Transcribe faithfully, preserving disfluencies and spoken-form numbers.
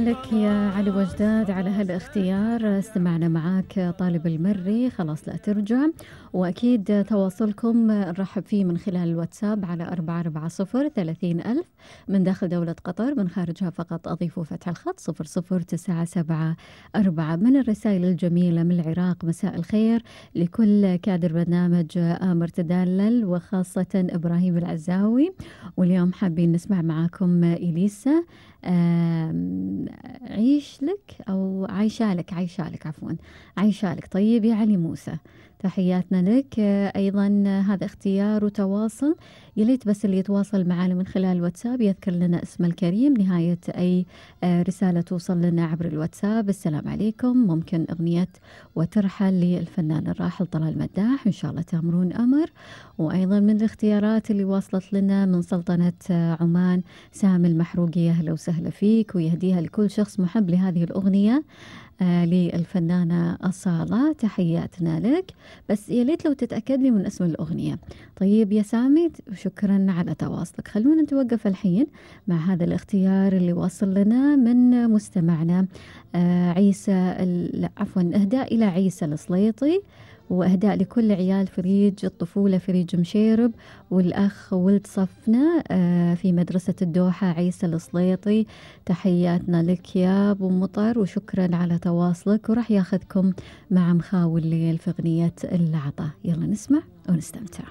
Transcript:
لك يا علي وجداد على هالاختيار. استمعنا معاك طالب المري، خلاص لا ترجع. وأكيد تواصلكم نرحب فيه من خلال الواتساب على أربعة أربعة صفر ثلاثين ألف من داخل دولة قطر، من خارجها فقط أضيفوا فتح الخط صفر صفر تسعة سبعة أربعة. من الرسائل الجميلة من العراق: مساء الخير لكل كادر برنامج آمر تدلل وخاصة إبراهيم العزاوي، واليوم حابين نسمع معاكم إليسا عيش لك أو عايشة لك عايشة لك عفوا عايشة لك. طيب يا علي موسى، تحياتنا لك. أيضا هذا اختيار وتواصل، يليت بس اللي يتواصل معنا من خلال الواتساب يذكر لنا اسم الكريم نهاية أي رسالة توصل لنا عبر الواتساب. السلام عليكم، ممكن أغنية وترحل للفنان الراحل طلال مداح، إن شاء الله تأمرون أمر. وأيضا من الاختيارات اللي واصلت لنا من سلطنة عمان سامي المحروقي، أهلا وسهلا فيك، ويهديها لكل شخص محب لهذه الأغنية آه للفنانة أصالة، تحياتنا لك. بس يا ليت لو تتأكد لي من اسم الأغنية. طيب يا سامي، شكرا على تواصلك. خلونا نتوقف الحين مع هذا الاختيار اللي وصل لنا من مستمعنا آه عيسى، لا عفوا إهداء إلى عيسى السليطي، وإهداء لكل عيال فريج الطفولة فريج مشيرب، والأخ ولد صفنا في مدرسة الدوحة عيسى السليطي. تحياتنا لك يا أبو مطر، وشكرا على تواصلك. وراح ياخذكم مع مخاول الليل في أغنية اللعطة. يلا نسمع ونستمتع.